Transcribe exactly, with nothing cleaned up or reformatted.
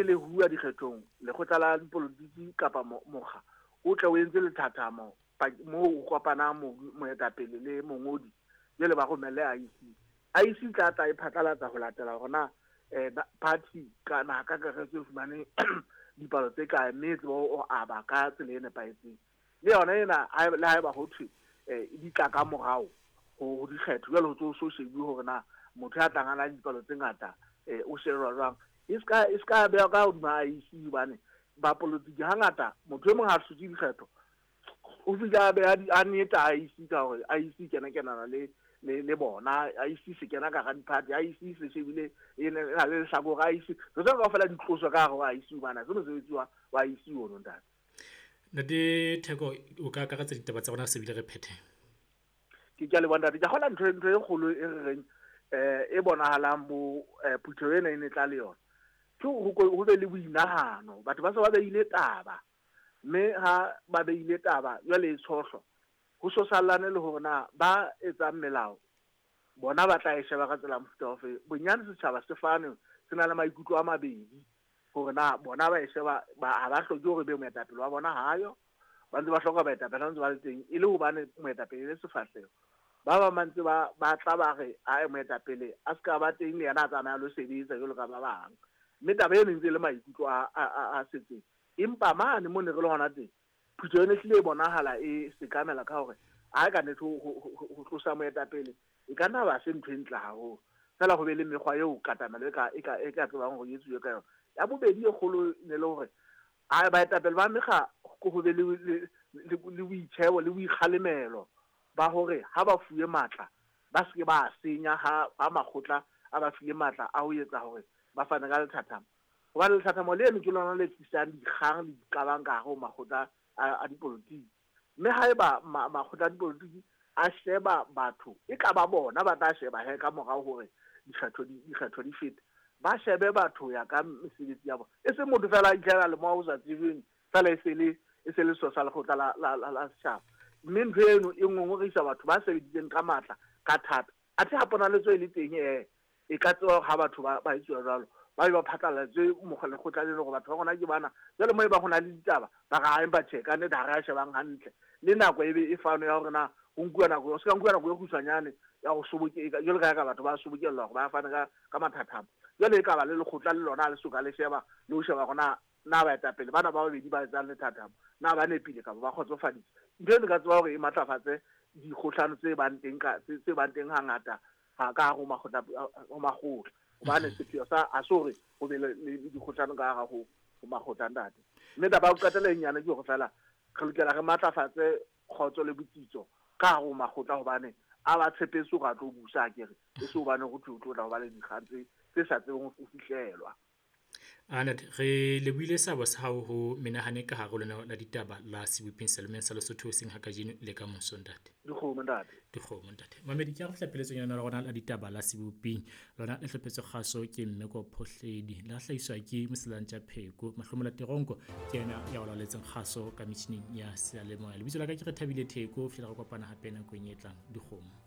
Pele ho uwa dikgethong, lekgotla la dipolotiki kapa mokga o tle o entse lethathamo moo o kopanang moetapele le mongodi, jwale ba romelle I E C. I E C tla tla e phatlalatsa ho latela hore na party ka naha ka kakaretso e fumane dipalo tse kae, mme e tsebe ho aba ka tsela e nepahetseng. Le yona ena le haeba ho thwe di tla ka morao ho dikgetho, jwale ho tso so shebuwe hore na motho ya tlang a na le dipalo tse ngata o shejwa jwang. E ska e ska beha ka hodima I E C, hobane bapolotiki hangata motho e mong ha hlotse dikgetho o fihla a beha a neta I E C ka hore I E C kena kenana le le le bona, I E C se kena ka hara di-party, I E C se shebile e na le lehlakore I E C. Re tseba kaofela di tloswe ka hare ho I E C hobane ha se mosebetsi wa wa I E C ono, ntate. Ntate Theko, o ka akaretsa ditaba tsa rona se bile re phethe. Ke ke a leboha ntate. Ke kgola ntho ntho e kgolo e re reng eh e bonahalang bo phutheho ena e ne tla le yona. Ke ho be le boinahano, batho ba se ba beile taba, mme ha ba beile taba jwale e tshohlwa ho sosallane le hore na ba etsang melao bona ba tla e sheba ka tsela mofuta ofe. Bonyane setjhaba se fane se na le maikutlo a mabedi hore na bona ba e sheba ba ha ba hloke hore be moetapele wa bona hayo, ba ntse ba hloka baetapele ba ntse ba le teng e le hobane moetapele le sefahleho. Ba bang ba ntse ba ba tla ba re a moetapele a ska ba teng le yena a tsamaya lo sebetsa jwalo ka ba bang, mme taba eno e ntse le maikutlo a a a setseng. Empa mane mo ne re le hona teng, phutheho e hlile e bonahala e sekamela ka hore ha ka nnete ho tlosa moetapele e ka nna ba se ntho e ntle haholo, fela ho be le mekgwa eo katamelo e ka e ka e ka tsebang hore e etsuwe ka yona. Ya bobedi e kgolo ne le hore ha baetapele ba mekga ho be le le boitjhebo le boikgalemelo ba hore ha ba fuwe matla ba se ke ba senya ha ha makgotla a ba file matla a ho etsa hore ba fane ka lethathamo. Hobane lethathamo leno ke lona le tlisang dikgang le diqabang ka hare ho makgotla a dipolotiki. Mme haeba makgotla a dipolotiki a sheba batho, e ka ba bona ba tla sheba he ka morao hore dikgetho di dikgetho di fete, ba shebe batho ya ka mesebetsi ya bona, e se motho fela a itlhela le mo o sa tsebeng fela e se le e se le so sa lekgotla la la la setjhaba. Mme ntho eno e ngongorisa batho ba sebeditseng ka matla ka thata, athe ha ponaletso e le teng e e ka tseba ha batho ba ba etsuwa jwalo, ba be ba phatlalatswe lekgotla leno hore batho ba rona ke bana. Jwale mo e ba ho na le ditaba ba re empa tjhe ka nnete ha re a shebang hantle, le nako e be e fano ya hore na ho nkuwa nako, o se ka nkuwa nako e kgutshwanyane ya ho soboke jwalo ka ka batho ba sobokellwa hore ba fane ka ka mathathamo. Jwale e ka ba le lekgotla le lona le soka le sheba le ho sheba hore na na baetapele bana ba babedi ba etsang lethathamo na ba nepile kapa ba kgotsofaditse. Ntho eno ka tseba hore e matlafatse dikgohlano tse bang teng ka tse bang teng hangata ha ka hare ho makgotla ho makgotla, hobane sepheo sa a se hore ho be le dikgohlano ka hare ho ho makgotla ntate. Mme taba ya ho qetela e nyane ke hore fela re lokela re matlafatse kgotso le botsitso ka hare ho makgotla, hobane a ba tshepetse hore a tlo busa akere, e se hobane ho thwe o tlo tla ho ba le dikgang tse tse sa tsebeng ho fihlelwa. Anat, re lebohile seabo sa hao ho menahane ka hare ho lona la ditaba la Seboping Selemeng sa Lesotho hoseng ha kajeno le ka moso ntate. Dikgomo ntate. Dikgomo ntate. Mamedi, ke a re fihla pheletsong ya lona la rona la ditaba la Seboping. Lona le hlophetswe kgaso ke Mmeko Phohledi, la hlahiswa ke Moselantja Pheko. Mahlomola Teronko ke yena ya o laoletseng kgaso ka metjhining ya seyalemoya. Lebitso la ka ke Rethabile Theko, fihlela re kopana hape nakong e tlang. Dikgomo.